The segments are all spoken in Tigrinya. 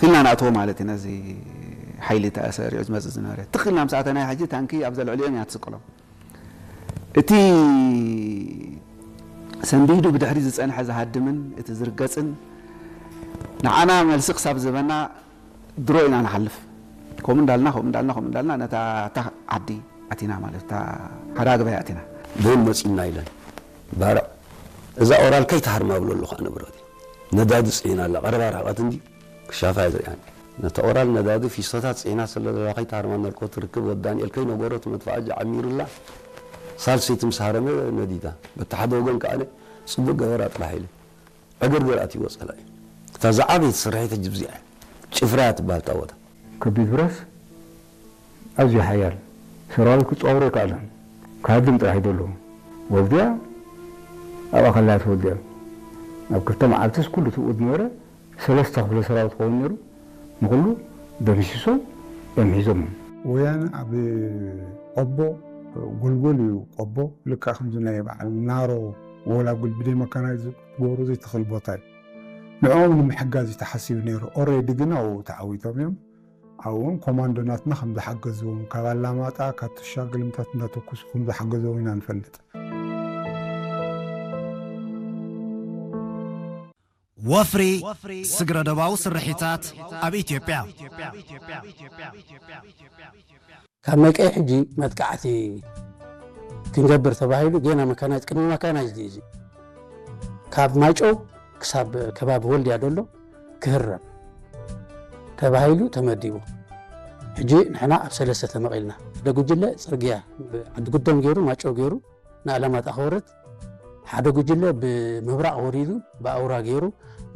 ትልና ንኣትዎ ማለት እዩ። ነዚ ሓይሊ ተሰሪዑ ዝመጽእ ዝነበረ ትኽልና ምስ ኣተና ሕጂ ታንኪ ኣብዛ ልዕሊኦም እያ ትስቅሎም። እቲ ሰንቢዱ ብድሕሪ ዝጸንሐ ዝሃድምን እቲ ዝርገጽን ንዓና መልሲ ክሳብ ዝህበና ድሮ ኢና ንሓልፍ። ከምኡ እንዳልና ከምኡ እንዳልና ከምኡ እንዳልና ነታ እታ ዓዲ ኣቲና ማለት እታ ሓዳግባይ ኣቲና። ደን መጺና ኢለን ባርዕ እዛ ኦራል ከይትሃርማ ብሎ ኣለኹ ኣነ ብረዲ ነዳዲ ጽዒና ኣላ ቀረባ ርሕቐት እንዲ ክሻፋ እያ ዝሪኣኒ ነቲ ኦራል ነዳዲ ፊስቶታት ጽዒና ስለ ዘለዋ ከይትሃርማ እናልኮ ትርክብ ወዲ ዳንኤል ከይነበሮ እቲ መድፍዓጂ ዓሚሩላ ሳልሰይቲ ምስ ሃረመ ነዲዳ በቲ ሓደ ወገን ከኣ ጽቡቅ ገበራ ጥራሕ ኢለ ዕግርግር ኣትይዎ ጸላኢ እታ ዝዓበየት ስርሒት ሕጂ ብዚኣ እያ ጭፍራ እያ ትበሃል እታ ቦታ ከቢድ ብረስ ኣዝዩ ሓያል ሰራዊት ክጻወሮ ኣይከኣለን። ክሃድም ጥራሕ እዩ ዘሎ። ወልድያ ኣብኣ ከላ እያ ተወልድያ። ኣብ ክልተ መዓልትስ ኩሉ ትብኡ ዝነበረ ሰለስተ ክፍለ ሰራዊት ክኸውን ነይሩ። ንኹሉ ደምሲሶም እዮም ሒዞሞም። ወያነ ኣብ ቆቦ ጎልጎል እዩ። ቆቦ ልክዕ ከምዚ ናይ በዓል ናሮ ጎላጉል ብደይ መካናይዝ ክትገብሮ ዘይትኽእል ቦታ እዩ። ንዕኦም ንምሕጋዝ እዩ ተሓሲቡ ነይሩ። ኦሬዲ ግን ኣብኡ ተዓዊቶም እዮም። ኣብኡ እውን ኮማንዶ ናትና ከም ዝሓገዝዎም ካብ ኣላማጣ ካብ ትሻ ግልምታት እንዳተኩሱ ከም ዝሓገዝዎም ኢና ንፈልጥ። ወፍሪ ስግረ ዶባዊ ስርሒታት ኣብ ኢትዮጵያ። ካብ መቀይ ሕጂ መጥቃዕቲ ክንገብር ተባሂሉ ጌና መካናይዝ ቅድሚ መካናይዝ ድዩ እዚ ካብ ማይጨው ክሳብ ከባቢ ወልድያ ደሎ ክህረም ተባሂሉ ተመዲቡ። ሕጂ ንሕና ኣብ ሰለስተ ተመቒልና ሓደ ጉጅለ ጽርግያ ዓዲ ጉደም ገይሩ ማጨው ገይሩ ንኣላማጣ ክወርድ ሓደ ጉጅለ ብምብራቕ ወሪዱ ብኣውራ ገይሩ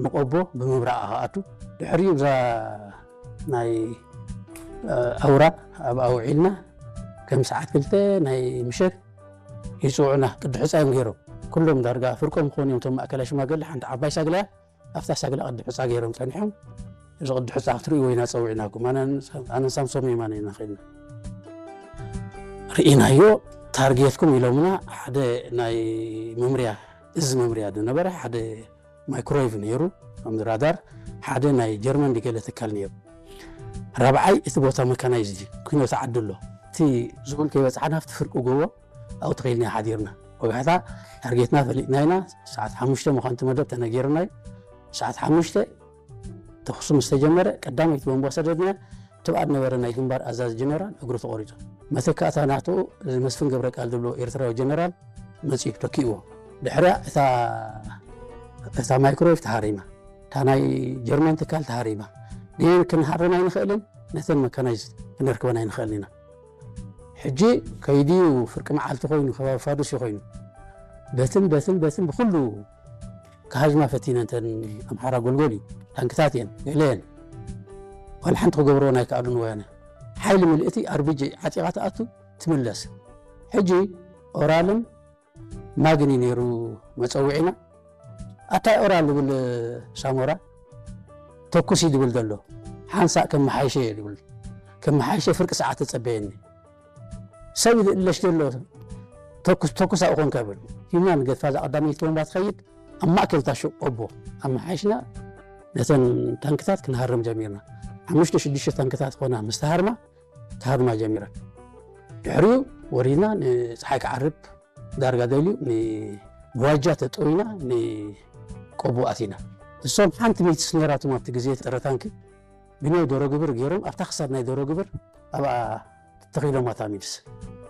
ንቆቦ ብምብራቕ ክኣቱ ድሕሪኡ ብዛ ናይ ኣውራ ኣብኣ ውዒልና ከም ሰዓት ክልተ ናይ ምሸት ይፅውዑና ቅዲ ሕፃ እዮም ገይሮም ኩሎም ዳርጋ ፍርቆም ክኾኑ እዮም እቶም ማእከላይ ሽማግለ ሓንቲ ዓባይ ሳግላ ኣብታ ሳግላ ቅዲ ሕፃ ገይሮም ፀኒሖም እዚ ቅዲ ሕፃ ክትርእይዎ ኢና ፀዊዕናኩም ኣነን ሳምሶም የማነ ኢና ኸይድና ርኢናዮ ታርጌትኩም ኢሎምና ሓደ ናይ መምርያ እዚ መምርያ ዝነበረ ሓደ ማይክሮይቭ ነይሩ ከም ራዳር ሓደ ናይ ጀርመን ድገለ ትካል ነይሩ ራብዓይ እቲ ቦታ መካናይዝ ኩኖት ዓዲ ኣሎ እቲ ዝብል ከይበፅሓና ኣብቲ ፍርቂ ጎቦ ኣብኡ ተኺልና ሓዲርና ወጋሕታ ታርጌትና ፈሊጥና ኢና ሰዓት ሓሙሽተ ምዃንቲ መደብ ተነጊርና እዩ ሰዓት ሓሙሽተ ተኹሲ ምስ ተጀመረ ቀዳመይቲ ቦምባ ሰደድና ትብኣ ዝነበረ ናይ ግንባር ኣዛዚ ጀነራል እግሩ ተቖሪፁ መተካእታ ናቱ እዚ መስፍን ገብረ ቃል ዝብሎ ኤርትራዊ ጀነራል መፂኡ ተኪእዎ ድሕሪያ እታ እታ ማይክሮዌቭ ተሃሪማ እታ ናይ ጀርመን ትካል ተሃሪማ ግን ክንሃርም ኣይንኽእልን ነተን መካናይዝ ክንርክበን ኣይንኽእልን ኢና ሕጂ ከይድዩ ፍርቂ መዓልቲ ኮይኑ ከባቢ ፋዱስ ኮይኑ በትን በትን በትን ብኩሉ ክሃዝማ ፈቲነ እንተን ኣምሓራ ጎልጎል እዩ ታንክታት እየን ገለ እየን ዋላ ሓንቲ ክገብርዎ ናይ ከኣሉን ወያነ ሓይሊ ምልእቲ ኣርቢጂ ዓጢቓ ትኣቱ ትምለስ ሕጂ ኦራልን ማግን እዩ ነይሩ መፀውዒና ኣታይ ኦራል ዝብል ሳሞራ ተኩሲ ዝብል ዘሎ ሓንሳእ ከመሓይሸ እየ ዝብል ከመሓይሸ ፍርቂ ሰዓት ተፀበየኒ ሰብ ይልእለሽ ዘሎ ተኩስ ተኩስ ኣብኡ ኮንካ ይብል ሂብና ንገድፋ እዛ ቀዳመይቲ ቦምባ ትኸይድ ኣብ ማእከል እታ ሹቕ ቆቦ ኣመሓይሽና ነተን ታንክታት ክንሃርም ጀሚርና ሓሙሽተ ሽዱሽተ ታንክታት ኾና ምስ ተሃርማ ክሃርማ ጀሚረን ድሕሪኡ ወሪድና ንፀሓይ ክዓርብ ዳርጋ ደልዩ ንዋጃ ተጠዊና ንቆቦ ኣቲና እሶም ሓንቲ ሚትስ ነይራቶም ኣብቲ ግዜ ፀረ ታንኪ ብናይ ዶሮ ግብር ገይሮም ኣብታ ክሳድ ናይ ዶሮ ግብር ኣብኣ ተኺሎም ኣታ ሚትስ